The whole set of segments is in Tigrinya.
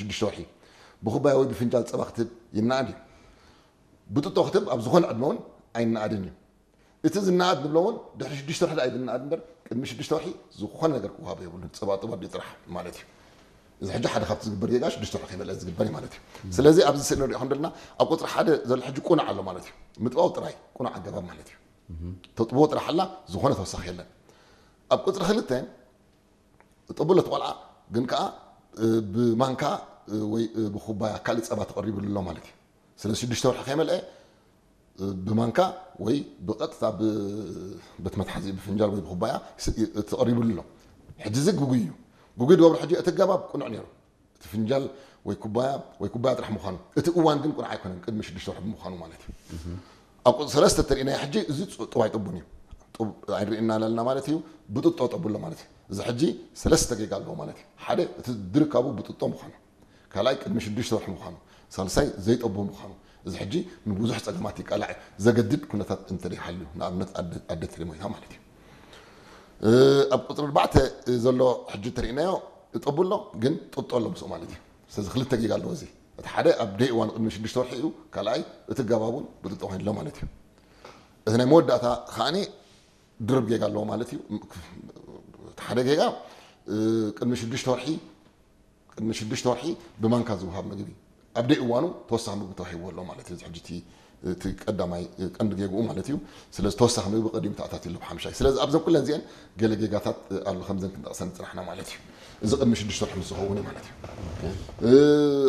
ሽዱሽተ ወርሒ ብኩባያ ወይ ብፍንጃል ጸባ ክትህብ ይነኣድ እዩ። ብጥጦ ክትህብ ኣብ ዝኾነ ዕድመ እውን ኣይነኣድን እዩ። እቲ ዝነኣድ ንብሎ እውን ድሕሪ ሽዱሽተ ወርሒ ደኣ እዩ ዝነኣድ እምበር፣ ቅድሚ ሽዱሽተ ወርሒ ዝኾነ ነገር ክወሃቦ የብሉን። ጸባ ጡብ ኣዲኡ ጥራሕ ማለት እዩ። እዚ ሕጂ ሓደ ካብቲ ዝግበር ጌጋ ሽዱሽተ ወርሒ ከይመልአ ዝግበር እዩ ማለት እዩ። ስለዚ ኣብዚ ስእሊ ንሪኦ ከም ዘለና ኣብ ቁጽሪ ሓደ ዘሎ ሕጂ ቁኑዕ ኣሎ ማለት እዩ። ምጥባው ጥራይ ቁኑዕ ኣገባብ ማለት እዩ። ተጥብዎ ጥራሕ ኣላ፣ ዝኾነ ተወሳኺ የለን። ኣብ ቁጽሪ ክልተ ጠብሎ እቲ ቆልዓ ግን ከኣ ብማንካ ወይ ብኩባያ ካልእ ጸባ ተቐሪብሉ ኣሎ ማለት እዩ። ስለዚ ሽዱሽተ ወርሒ ከይመልአ ብማንካ ወይ ብቐጥታ ብቤት መትሓዚ ብፍንጃል ወይ ብኩባያ ተቐሪብሉ ኣሎ። ሕጂ እዚ ግጉይ እዩ። ግጉይ ድገብሮ ሕጂ እቲ ኣገባብ ቅኑዕ ነይሩ። እቲ ፍንጃል ወይ ኩባያ ወይ ኩባያ ጥራሕ ምዃኑ፣ እቲ እዋን ግን ቅኑዕ ኣይኮነን፣ ቅድሚ ሽዱሽተ ወርሒ ብምዃኑ ማለት እዩ። ኣብ ቁጽሪ ሰለስተ ተሪእናዮ ሕጂ እዚ ጡብ ኣይጠቡን እዩ። ጡብ ኣይንርእና ኣለና ማለት እዩ። ብጥጦ ጠቡ ኣሎ ማለት እዩ። እዚ ሕጂ ሰለስተ ጌጋ ኣለዎ ማለት እዩ። ሓደ እቲ ድርካቡ ብጥጦ ምዃኑ፣ ካልኣይ ቅድሚ ሽዱሽተ ወርሒ ምዃኑ፣ ሳልሳይ ዘይጠቡ ምዃኑ። እዚ ሕጂ ንብዙሕ ጸገማት ይቃላዕ ዘገድድ ኩነታት እንተደይሃልዩ፣ ንኣብነት ኣደ ተደይ ሞይታ ማለት እዩ። ኣብ ቁጽሪ ኣርባዕተ ዘሎ ሕጂ ተሪእናዮ ጠቡ ኣሎ ግን ጥጦ ኣሎ ምስኡ ማለት እዩ። ስለዚ ክልተ ጌጋ ኣለዎ እዚ። እቲ ሓደ ኣብ ደይ እዋን ቅድሚ ሽዱሽተ ወርሒ እዩ፣ ካልኣይ እቲ ኣገባብ እውን ብጥጦ ኮይኑ ኣሎ ማለት እዩ። እቲ ናይ መወዳእታ ከዓኒ ድርብ ጌጋ ኣለዎ ማለት እዩ። እቲ ሓደ ጌጋ ቅድሚ ሽዱሽተ ወርሒ ቅድሚ ሽዱሽተ ወርሒ ብማንካ ዝወሃብ ምግቢ ኣብ ደይ እዋኑ ተወሳኺ ምግቢ ተዋሂብዎ ኣሎ ማለት እዩ። እዚ ሕጂ እቲ ቀዳማይ ቀንዲ ጌግኡ ማለት እዩ። ስለዚ ተወሳኺ ምግቢ ቀዲሙ ተኣታትዩ ኣሎ ብሓምሻይ። ስለዚ ኣብዘን ኩለን እዚአን ገለ ጌጋታት ኣሎ ከምዘን ክንጠቕሰን ዝፅናሕና ማለት እዩ። እዚ ቅድሚ ሽዱሽተ ወርሒ ምስ ዝኸውን እዩ ማለት እዩ።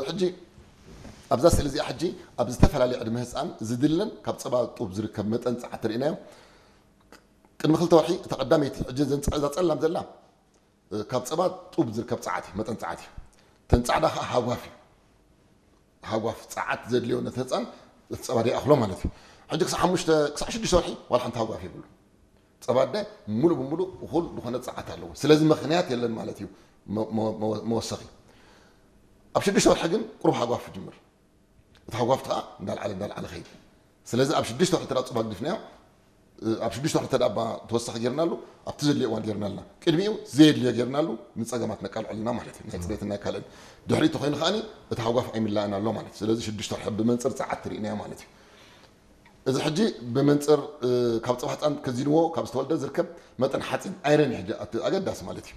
ሕጂ ኣብዛ ስእሊ እዚኣ ሕጂ ኣብ ዝተፈላለየ ዕድመ ህፃን ዝድለን ካብ ፀባ ጡብ ዝርከብ መጠን ፀዓት ተሪእናዮ። ቅድሚ ክልተ ወርሒ እታ ቀዳመይቲ ሕጂ እዛ ፀላም ዘላ ካብ ፀባ ጡብ ዝርከብ ፀዓት እዩ፣ መጠን ፀዓት እዩ። እተን ፃዕዳ ከዓ ሃጓፍ እዩ። ሃጓፍ ፀዓት ዘድልዮ ነቲ ህፃን እቲ ፀባ ደይኣኽሎ ማለት እዩ። ሕጂ ክሳብ ሓሙሽተ ክሳብ ሽዱሽተ ወርሒ ዋላ ሓንቲ ሃጓፍ የብሉ። ፀባ ኣደ ሙሉእ ብሙሉእ እኹል ዝኾነ ፀዓት ኣለዎ። ስለዚ ምኽንያት የለን ማለት እዩ መወሰኺ። ኣብ ሽዱሽተ ወርሒ ግን ቁሩብ ሃጓፍ ይጅምር። እቲ ሃጓፍ ከዓ እንዳልዓለ እንዳልዓለ ኸይድ። ስለዚ ኣብ ሽዱሽተ ወርሒ ተዳ ፁባ ግድፍናዮ ኣብ ሽዱሽተ ወርሒ ተዳ ተወሳኺ ጌርናሉ ኣብቲ ዘድልዮ እዋን ጌርናልና ቅድሚኡ ዘየድልዮ ጌርናሉ ንፀገማት ነቃልዐልና ማለት እዩ። ናይ ፅሬትን ናይ ካልእን ድሕሪኡ ተኮይኑ ከዓኒ እቲ ሃጓፍ ኣይምላእን ኣሎ ማለት እዩ። ስለዚ ሽዱሽተ ወርሒ ብመንፅር ፀዓት ትርኢናዮ ማለት እዩ። እዚ ሕጂ ብመንፅር ካብ ፀባ ህፃን ከዚንዎ ካብ ዝተወልደ ዝርከብ መጠን ሓፂን ኣይረን ሕጂ ኣገዳሲ ማለት እዩ።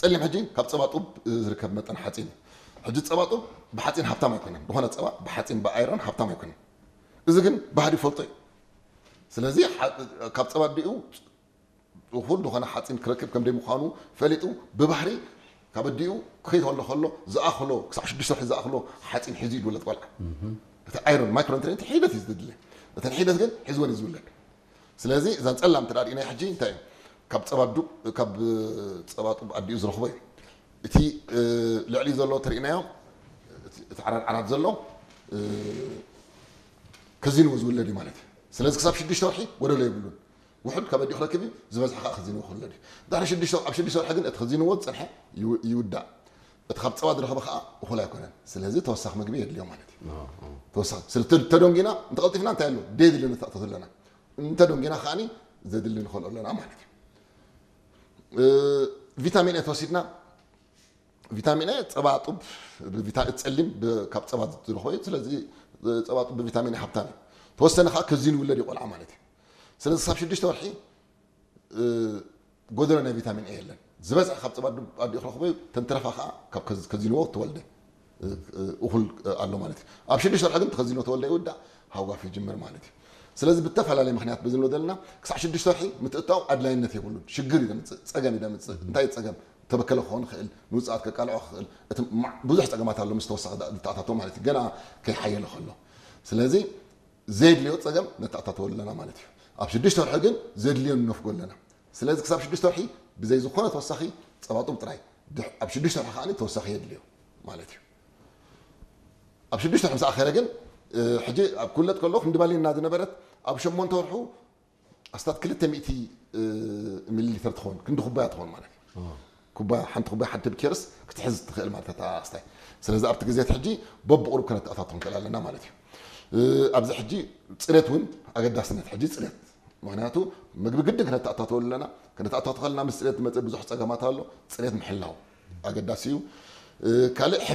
ፀሊም ሕጂ ካብ ፀባ ጡብ ዝርከብ መጠን ሓፂን እዩ። ሕጂ ፀባ ጡብ ብሓፂን ሃብታም ኣይኮነን። ዝኾነ ፀባ ብሓፂን ብኣይረን ሃብታም ኣይኮነን። እዚ ግን ባህሪ ይፈልጦ እዩ። ስለዚ ካብ ፀባ ኣዲኡ እኹል ዝኾነ ሓፂን ክረክብ ከም ደይምዃኑ ፈሊጡ ብባህሪ ካብ ኣዲኡ ከይተወልደ ከሎ ዝኣኽሎ ክሳብ ሽዱሽተ ወርሒ ዝኣኽሎ ሓፂን ሒዙ እዩ ዝውለድ ቆልዓ። እቲ ኣይረን ማይክሮንትሪንት ሒደት እዩ ዝድለ። እተን ሒደት ግን ሒዝወን እዩ ዝውለድ። ስለዚ እዛን ፀላም ተዳሪእናይ ሕጂ እንታይ እዩ ካብ ፀባ ዱብ ካብ ፀባ ጡብ ኣዲኡ ዝረኽቦ እዩ። እቲ ልዕሊ ዘሎ ተርእናዮ እቲ ዓራት ዓራት ዘሎ ከዚንዎ ዝውለድ እዩ ማለት እዩ። ስለዚ ክሳብ ሽዱሽተ ወርሒ ጎደሎ የብሉን። ውሑድ ካብ ኣዲኡ ክረክብ እዩ፣ ዝበዝሐ ከዓ ከዚንዎ ክውለድ እዩ። ድሕሪ ሽዱሽተ ኣብ ሽዱሽተ ወርሒ ግን እቲ ከዚንዎ ዝፀንሐ ይውዳእ። እቲ ካብ ፀባ ዝረኸበ ከዓ እኹል ኣይኮነን። ስለዚ ተወሳኺ ምግቢ የድልዮ ማለት እዩ። ተወሳኺ ስለ ተደንጊና እንተቐልጢፍና እንታይ ኣሎ ደየድልዮ ንተኣተቱ ኣለና። እንተደንጊና ከዓኒ ዘድሊ ንኸልኦ ኣለና ማለት እዩ። ቪታሚን ኤ ተወሲድና ቪታሚን ኤ ፀባ ጡብ ጸሊም ካብ ፀባ ዝረኽቦ እዩ። ስለዚ ፀባ ጡብ ብቪታሚን ኤ ሃብታም እዩ። ተወሰነ ከዓ ከዚኑ ይውለድ እዩ ቆልዓ ማለት እዩ። ስለዚ ክሳብ ሽዱሽተ ወርሒ ጎደሎ ናይ ቪታሚን ኤ የለን። ዝበዝሐ ካብ ፀባ ኣዲኡ ክረኽቦ እዩ። ተንተረፋ ከዓ ካብ ከዚንዎ ተወልደ እኹል ኣሎ ማለት እዩ። ኣብ ሽዱሽተ ወርሒ ግን ተኸዚንዎ ተወልደ ይውዳእ ሃጓፍ ይጅምር ማለት እዩ። ስለዚ ብተፈላለየ ምክንያት ብዝንሎ ዘለና ክሳዕ ሽዱሽተ ወርሒ ምትእታው ኣድላይነት የብሉን። ሽግር እዩ ዘምፅእ፣ ፀገም እዩ ዘምፅእ። እንታይ እዩ ፀገም? ተበከለ ክኸውን ይኽእል፣ ንውፅኣት ከቃልዖ ክኽእል፣ እቲ ብዙሕ ፀገማት ኣሎ ምስ ተወሳኺ ዝተኣታቶ ማለት እዩ። ገና ከይሓየለ ከሎ ስለዚ ዘየድልዮ ፀገም ነተኣታተወሉ ኣለና ማለት እዩ። ኣብ ሽዱሽተ ወርሒ ግን ዘድልዮ ንነፍጎ ኣለና። ስለዚ ክሳብ ሽዱሽተ ወርሒ ብዘይ ዝኾነ ተወሳኺ ፀባጡብ ጥራይ፣ ኣብ ሽዱሽተ ወርሒ ከዓ ተወሳኺ የድልዮ ማለት እዩ። ኣብ ሽዱሽተ ወርሒ ምስ ኣኸለ ግን ሕጂ ኣብ ኩለት ከሎ ክንዲ ባሊና ዝነበረት ኣብ ሸሞንተ ወርሑ ኣስታት ክልተ ሚእቲ ሚሊ ሊተር ትኸውን ክንዲ ኩባያ ትኸውን ማለት እዩ። ኩባያ ሓንቲ ኩባያ ሓንቲ ብኬርስ ክትሕዝ ትኽእል ማለት እታ ኣስታይ። ስለዚ ኣብቲ ግዜ ሕጂ በብቑሩብ ከነተኣታቶ ንክእል ኣለና ማለት እዩ። ኣብዚ ሕጂ ፅሬት እውን ኣገዳስነት ሕጂ ፅሬት፣ ምክንያቱ ምግቢ ግድን ከነተኣታተወሉ ኣለና። ከነተኣታቶ ከለና ምስ ፅሬት ዝመፅእ ብዙሕ ፀገማት ኣሎ። ፅሬት ምሕላው ኣገዳሲ እዩ። ካልእ